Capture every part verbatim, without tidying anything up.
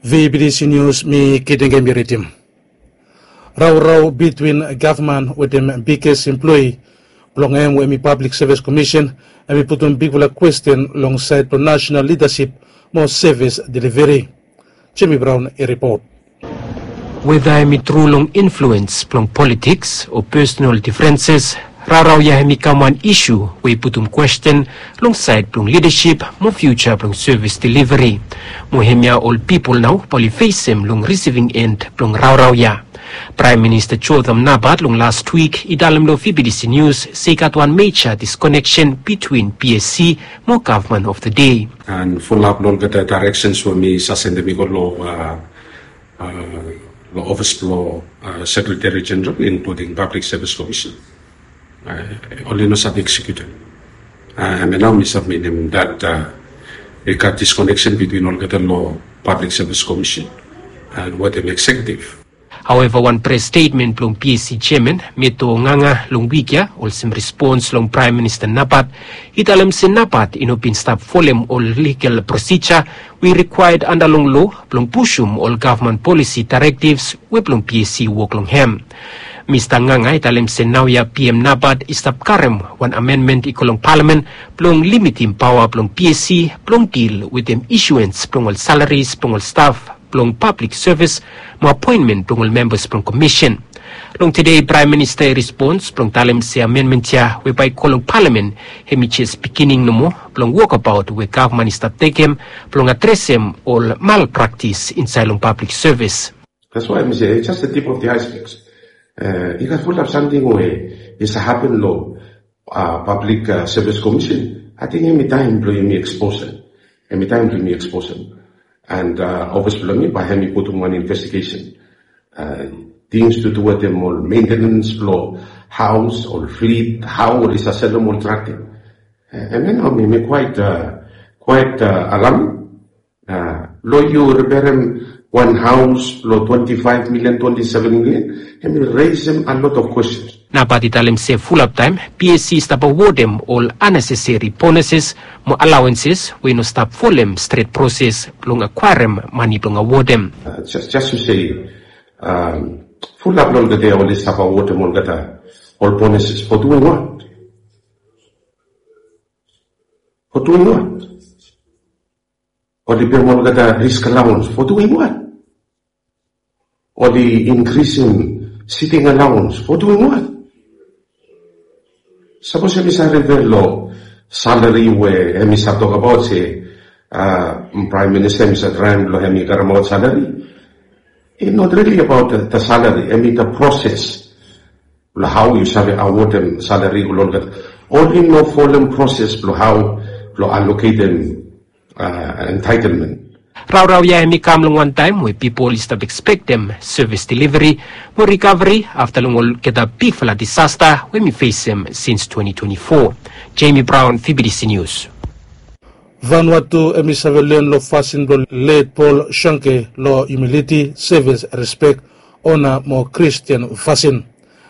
Vbdc News, mi Kidengem i ridim. Raorao bitwin gavman wetem biges emploe blong hem we hemi Pablik Sevis Komisen, hemi putum bigfala kwesten long saed blong nasenal lidasip mo sevis deliveri. Jemi Braon i ripot. Weda hemi tru long influens blong politiks o pesonal difrenses, raorao ya hemi kam wan isu we i putum kwesten long saed blong lidasip mo fiuja blong sevis deliveri. Mo hemia ol pipol nao bae oli fesem long risiving en blong raorao ya. Praem Minista Jotham Napat long las wik i talem long Vbdc Nius se i gat wan meja diskoneksen bitwin PSC mo gavman of the dei. And fulap long olgeta directions we mi sasendem i go long, uh, uh, long office blong, uh, Secretary General, including Public Service Commission. Uh, oli no save execute. Uh, and now mi submitim that, uh, i gat disconnection between olgeta long Public Service Commission and wetem executive. Haweva, wan pres stetmen blong PSC jeaman, Meto Nganga, long wik ya, olsem respons long Praem Minista Napat, i talem se Napat i no bin stap folem ol ligal prosija we i rikwaed anda long loa blong pusum ol gavman polisi daerektivs we blong PSC i wok long hem. Mista Nganga i talem se naoia PM Napat i stap karem wan amenmen i go long palamen blong limitim paoa blong PSC blong dil wetem isuens blong ol salaris blong ol staf blong pablik sevis mo apoenmen blong ol membas blong komisen. Long tede Praem Minista i respons blong talem se amenmen ya we bae i go long palamen, hemi jes beginning nomo blong wokabaot we gavman i stap tekem blong adresem ol malpraktis insaed long pablik sevis. That's why mi se, it's just the tip of the iceberg. Uh, i gat fulap samting we i save hapen long, uh, Public, uh, Service Commission. Ating hemi taem blong yumi expose hem. Hemi taem blong yumi expose hem. And, uh, office blong mi bae hemi putum wan investigation. Uh, things to do wetem ol maintenance blong haos, ol flit, hao oli save selem ol trak ya. Uh, hemia nao mi, mi quite, uh, quite, uh, alarm. Uh, long yu riperem wan haos long twenty-five million, twenty-seven million, hemi resem a lot of questions. Napat i talem se fulap taem PSC i stap awodem ol unnecessary bonuses mo allowances we i no stap folem stret proses blong akwaerem mane blong awodem. Uh, just, just to say, um, fulap long olgeta oli stap awodem olgeta ol bonuses for doing what? For doing what? Oli pem olgeta risk allowance for doing what? Oli inkrisim sitting allowance for doing what? Sapos hemi save rifea long salari we hemi save tokbaot se, uh, Praem Minista hemi save traem blong hemi karemaot salari. It's not really about the, the salary, hemi the process. Blong hao yu save awodem salari long olgeta. Oli no folem proses blong hao blong aloketem, uh, entitlement. Raorao ya hemi kam long wan taem we pipol i stap ekspektem sevis deliveri mo rikaveri afta long olgeta bigfala disasta we hemi fesem sins twenty twenty-four. Jemi Braon, Vbdc Nius. Vanuatu hemi save len long fasin blong let Pol Shonke long humiliti, sevis, respek, ona mo Kristian fasin.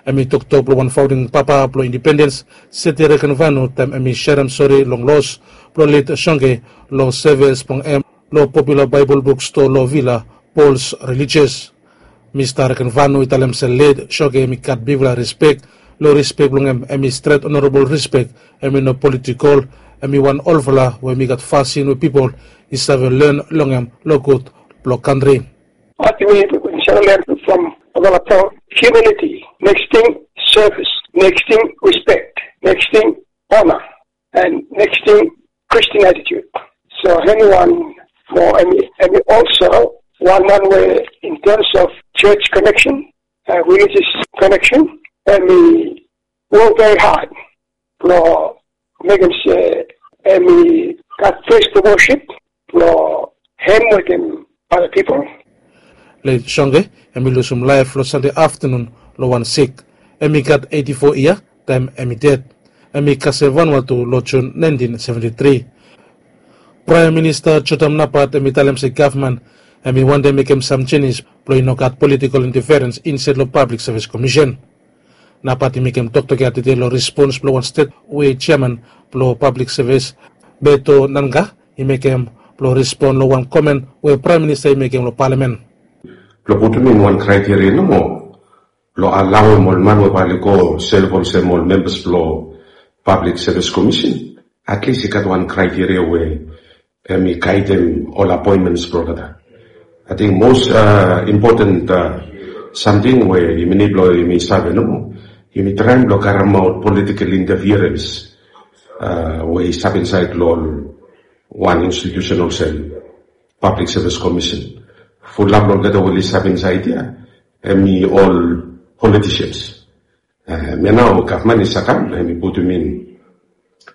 Hemi toktok blong wan faonding papa blong indipendens, Seti Rekenvanu, taem hemi serem sore long los blong let Shonke long sevis blong hem long popula Baebol bukstoa long vila, Paul's Religious. Mista Rekenvanu i talem se let Shonke hemi gat bigfala respek. Long respek blong hem, hemi stret onorabol respek, hemi no politikol, hemi wan olfala we hemi gat fasin we pipol i save len long hem long gud blong kantri. What we, we shall learn from Obama Paul, humility, next thing, service, next thing, respect, next thing, honor, and next thing, Christian attitude. So hemi wan mo, hemi, hemi also wan man we in terms of church connection, uh, religious connection, hemi work very hard blong mekem se hemi gat ples blong worship blong hem wetem other people. Let Shonke hemi lusum laef long Sande aftanun long wan sik. Hemi gat eighty-four yia taem hemi ded. Hemi kasem Vanuatu long Jun nineteen seventy-three. Praem Minista Jotham Napat hemi talem se gavman hemi wantem mekem sam jenis blong i no gat politikol intaferens insaed long Pablik Sevis Komisen. Napat i mekem toktok ya tede long respons blong wan stet we jeaman blong Pablik Sevis, Beto Nanga, i mekem Blong respon long wan komen we Praem Minista i mekem long palamen. Blong putum in wan kraiteria nomo blong alaoem ol man we bae oli go sev olsem ol membas blong Pablik Sevis Komisen, atlis i gat wan kraiteria we hemi gaedem ol apoenmens blong olgeta. Ating mos impoten samting we yumi nid blong yumi save nomo, yumi traem blong karemaot politikel intafirens we i stap insaed long ol wan institiusen olsem Pablik Sevis Komisen. Fulap long olgeta we oli stap insaed ya hemi ol politisians. Hemia nao gavman i save kam hemi putum in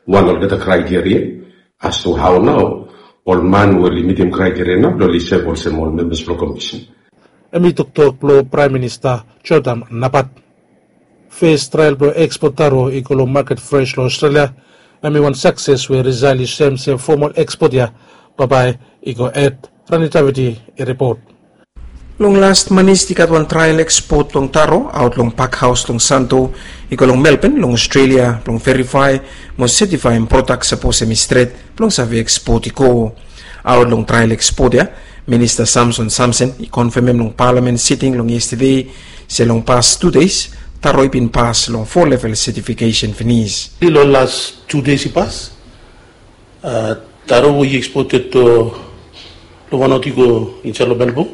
wan olgeta kraiteria as to hao nao ol man we oli mitim kraiteria nao blong oli sev olsem ol membas blong komisen. Hemi toktok blong Praem Minista Jordam Napat. Fes trael blong ekspot taro i go long maket fres long Australia. Hemi wan sakses we Rizal i soem se fomol ekspot ya bambae i go hed. Rani Taviti i ripot. Long las manis i gat wan trael ekspot blong taro aot long pakhaos long Santo i go long Melbourne long Australia blong verifae mo setifaem prodak sapos hemi stret blong save ekspot i go. Aot long trael ekspot ya, Minista Samson Samson i konfemem long palamen siting long yestede se long pas tu deis taro i bin pas long fo level setifikesen finis. Long las tu deis i pas, taro we i eksported long Vanuatu i go insaed long Melbourne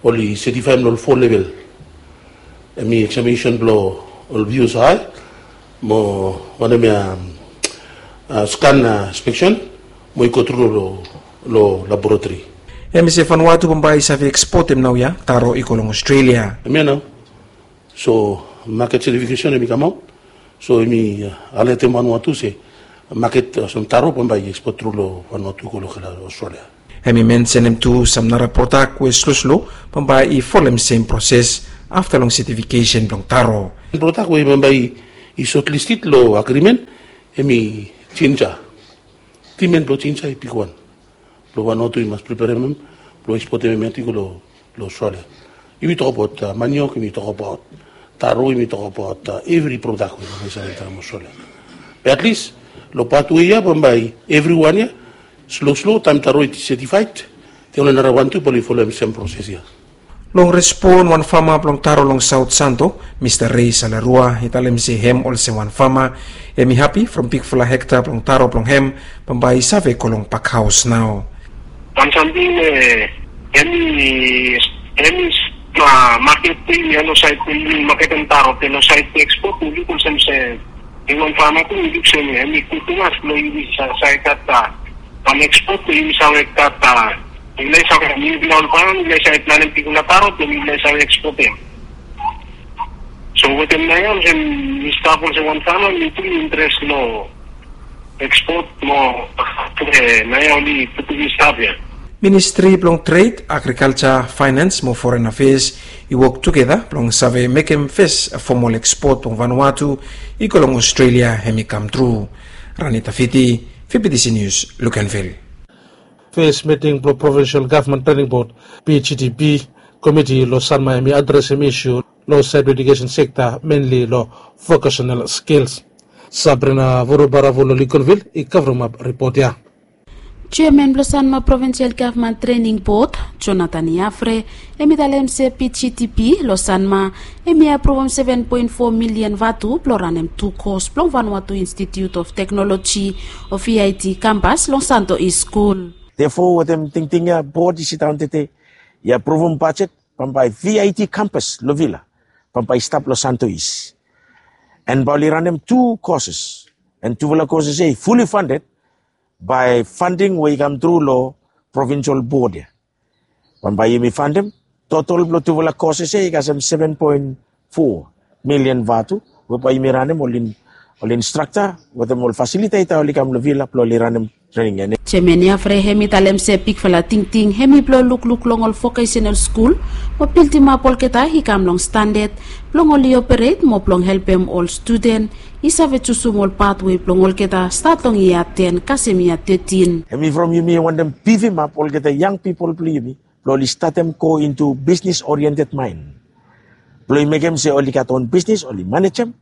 oli setifaem long ol fo level. Hemi eksaminesen blong ol vius hae mo wanem ya, skan inspeksen mo i go tru long laboratori. Hemi se Vanuatu bambae i save ekspotem naoia taro i go long Australia. Hemia nao. So maket setifikesen hemi kamaot. So hemi alertem Vanuatu se maket olsem taro bambae i ekspot tru long Vanuatu i go long Australia. Hemi mensenem tu sam nara prodak we sloslo bambae i folem sem proses afta long setifikesen blong taro. Prodak we bambae i sotlisted long agrimen hemi jinja. Timen blong jinja i bigwan. Blong Vanuatu i mas preperem hem blong ekspotem hem ya tu i go long Australia. Yumi tokbaot maniok, yumi tokbaot taro, yumi tokbaot evri prodak we yumi save taem Australia. Be atlis long pat we ya bambae evriwan ya sloslo taem taro i setifaed, de oli nara wan tu bae oli folem sem proses ya. Long respon wan fama blong taro long Saot Santo, Mista Rei Salarua i talem se hem olsem wan fama hemi hapi from bigfala hekta blong taro blong hem bambae i save go long pakhaos nao. Wan samting we hemi hemi maket blong yumi ya long saed blong yumi maketem taro be long saed blong ekspot mi luk olsem se hemi wan fama tu mi luk se hemi gud tumas blong yumi save gat wan ekspot blong yumi save gat. Yumi nao i save yumi nao ol fama yumi nao i save planem bigfala taro blong yumi nao i save ekspotem. So wetem naoia olsem mi stap olsem wan fama mi tu interes long ekspot mo naoia oli putum mi stap ya. Ministri blong Tred, Agrikalja, Faenans mo Foren Afeas i wok tugeta blong save mekem fes fomol ekspot blong Vanuatu i go long Australia hemi kamtru. Rani Tafiti, V B T C News, Luganville. Fes miting blong Provinsel Gavman Trening Bod, P G T P, komiti long Sanma hemi adresem isu long saed blong ejukesen sekta, menli long vokasenal skils. Sabrina Vurubaravu long Luganville i kavremap ripot ya. Jeaman blong Sanma Provinsel Gavman Trening Bod, Jonathan Yafre, hemi talem se P G T P long Sanma hemi apruvum seven poen fo milian vatu blong ranem tu kos blong Vanuatu Institute of Technology o V I T kampas long Santo East Skul. Therefore wetem tingting ya bod i sidaon tede i apruvum bajet bambae V I T kampas long Vila bambae i stap long Santo East. And bae oli ranem tu koses, and tufala koses ya i fully funded by funding we i kamtru long provinsel bod ya. Bambae yumi faenem totol blong tufala koses ya i kasem seven poen fo milian vatu we bae yumi ranem ol instrakta wetem ol fasiliteta oli kam long Vila blong oli ranem trening ya. Jeaman Yafre hemi talem se bigfala tingting hemi blong lukluk long ol vokasenal skul mo bildimap olgeta i kam long standad blong oli operet mo blong helpem ol studen i save jusum ol patwe blong olgeta stat long yia ten kasem yia tetin. Hemi from yumi wantem bifimap olgeta yang pipol blong yumi blong oli statem go intu bisnis oriented mind blong i mekem se oli gat on bisnis oli manejem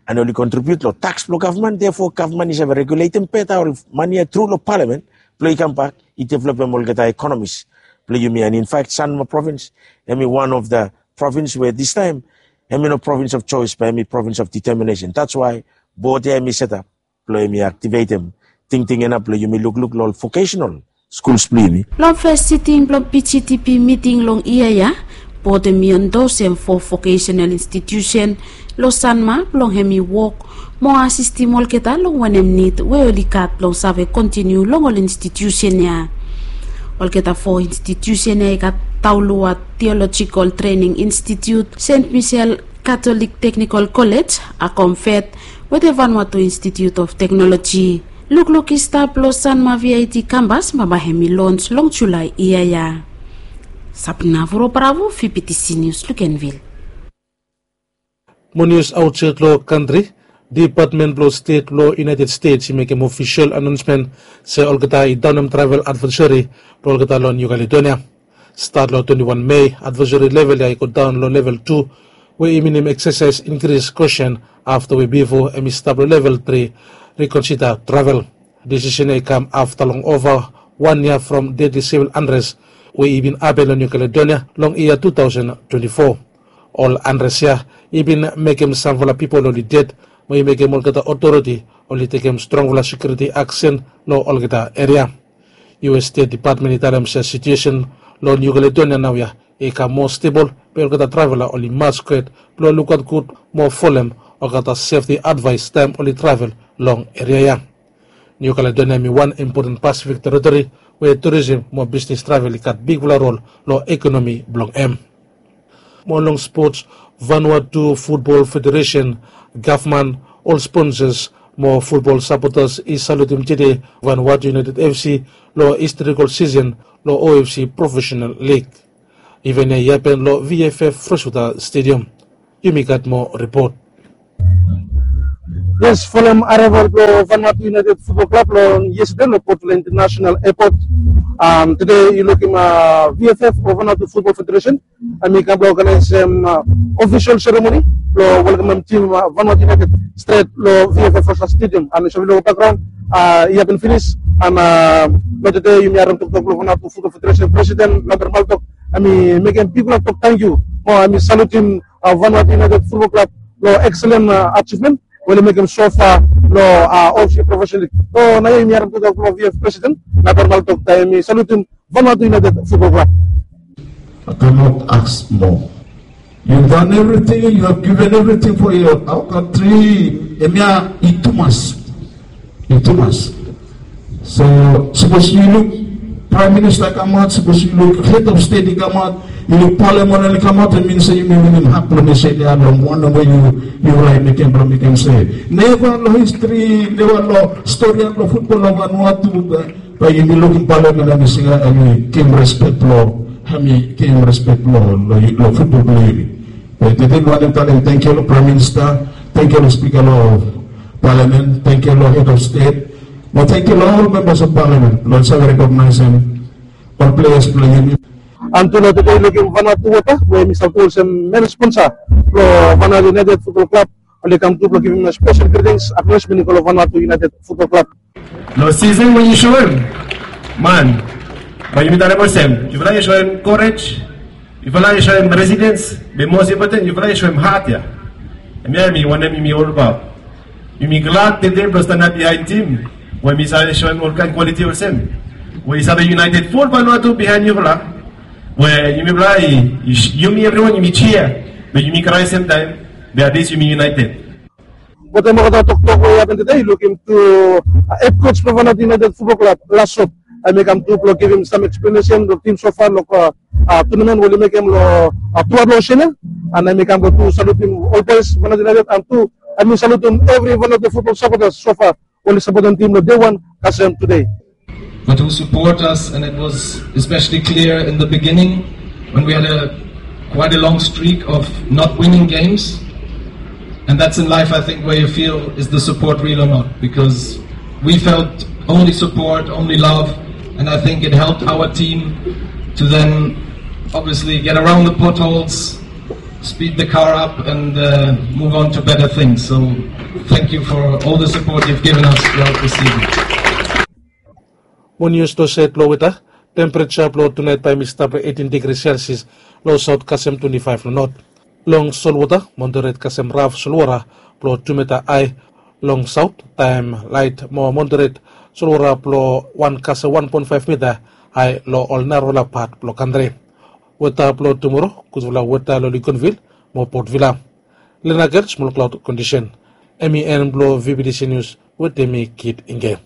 and oli kontribiut long taks blong gavman. Therefore gavman i save reguletem beta ol mane ya tru long palamen blong i kambak i developem olgeta ekonomis blong yumi. And in fact, Sanma provins hemi one of the provins we distaem hemi no provins of choice, be hemi provins of determination. That's why bod ya hemi setap blong hemi aktivetem tingting ya nao blong yumi lukluk long ol vocational skuls blong yumi. Long fes siting blong PGTP miting long yia ya, bod hemi endosem fo vocational institusen long Sanma blong hemi wok mo asistem olgeta long wanem nid we oli gat blong save kontiniu long ol institusen ya. Olgeta fo institusen ya i gat Taulua Theological Training Institute, Saint Michel Catholic Technical College, Akomfet, wetem Vanuatu Institute of Technology. Lukluk i stap long Sanma VIT kambas, bambae hemi lons long Julae yia ya. Sabrina Vuro Bravo, VBTC News, Luganville. Mo nius aotsaed long kantri. Dipatmen blong Stet blong United States i mekem ofisol anaonsmen se olgeta i daonem travel advaesari blong olgeta long Niu Kaledonia. Stat long twenti wan Mei, advaesari level ya i godaon long level tu, we i minim eksasaes inkris kosen afta we bifo hemi stap long level tri, rikonsida travel. Disisen ya i kam afta long ova wan yia from dedli sivil anres we i bin hapen long Niu Kaledonia long yia tu taosen twenti fo. Ol anres ya i bin mekem samfala pipol oli ded, mo i mekem olgeta otoriti oli tekem strongfala sekiuriti aksen long olgeta eria. US Stet Dipatmen i talem se situesen long Niu Kaledonia naoia i kam moa stebol, be olgeta travela oli mas gud blong lukaot gud mo folem olgeta sefti advaes taem oli travel long eria ya. Niu Kaledonia hemi wan impoten Pasifik teritori we turisem mo bisnis travel i gat bigfala rol long ekonomi blong hem. Mo long spots, Vanuatu Futbol Federesen, gavman, ol sponsas mo futbol sapotas i salutem tede Vanuatu United FC long historikol sisen long OFC Profesenal Lig. Iven ya i hapen long VFF Freshwater Stadium. Yumi gat moa ripot. Yes, folem areval blong Vanuatu United Futbol Klab long yestede long Port Vila International Airport. Tede yu lukim VFF o Vanuatu Futbol Federesen hemi kam blong oganaesem ofisol seremoni blong welkamem tim Vanuatu United stret long VFF Freshwater Stadium. And yu save long bakgraon i hapen finis. And long tede yumi harem toktok blong Vanuatu Futbol Federesen presiden Lambert Maltok hemi mekem bigfala tok tangkiu mo hemi salutem Vanuatu United Futbol Klab long ekselen ajivmen we oli mekem sofa long OFC Profesenal Lig. So naoia yumi harem toktok blong VFF presiden Lambert Maltok taem hemi salutem Vanuatu United Futbol Klab. I cannot ask more. You've done everything, you have given everything for your, our country. Hemia i tumas. I tumas. So sapos yu luk Prime Minister i kamaot, sapos yu luk Head of State i kamaot, yu luk Parliament oli kamaot, hemi min se yumi winim hap blong meses ya long wanem we yu, yu rait mekem blong mekem se neva long histri, neva long stori blong futbol long Vanuatu, be Bae yumi lukim Palamen hemi singa, hemi givim respek blong, hemi givim respek blong, long, long futbol blong yumi. Be tede mi wantem talem tangkiu long Praem Minista, tangkiu long Spika long Palamen, tangkiu long Hed of Stet, mo tangkiu long ol membas of Palamen blong oli save rekognaesem ol pleas blong yumi. And tu nao tede yu lukim Vanuatu Wota we hemi save tu olsem men sponsa blong Vanuatu United Futbol Klab, oli kam tu blong givim spesel gritings, aknolejmen i go long Vanuatu United Futbol Klab. Long sisen we yu soem, man, bae yumi talem olsem, yufala yu soem korej, yufala yu soem residens, be mos impoten yufala yu soem hat ya. Hemia hemi wanem yumi olbaot. Yumi glad tede blong stanap biaen tim we hemi save soem olkaen kwaliti olsem, we i save yunaeted ful Vanuatu biaen yufala, we yumifala i, i, yumi evriwan yumi jia, be yumi krae semtaem, be atlis yumi yunaeted. Wetem olgeta toktok we i hapen tede, yu lukim tu hed koj blong Vanuatu United Futbol Klab, Lasot, hemi kam tu blong givim sam eksplenesen long tim sofa long tunamen we oli mekem long tuaot long Oseania. And hemi kam blong tu salutim ol boes Vanuatu United, and tu hemi salutim evri Vanuatu futbol sapotas sofa we oli sapotem tim long dei wan kasem tede. But who support us, and it was especially clear in the beginning when we had a quite a long streak of not winning games. And that's in life, I think, where you feel, is the support real or not? Because we felt only support, only love, and I think it helped our team to then obviously get around the potholes, speed the car up, and uh, move on to better things. So thank you for all the support you've given us throughout the season. Mo nius long sed long weta, tempereja blong tunaet bae mi stap long eitin digri selsias long saot kasem twenti faef long not. Long solwota, moderet kasem raf solwara blong tu mita ae long saot, taem laet mo moderet solwara blong wan kasem wan poen faef mita ae long ol narafala pat blong kantri. Weta blong tumoro, gudfala weta long Lincolnville mo Port Vila. Lenakel smol klaod kondisen. Em i en blong V B T C News wetem mi Kit Inge.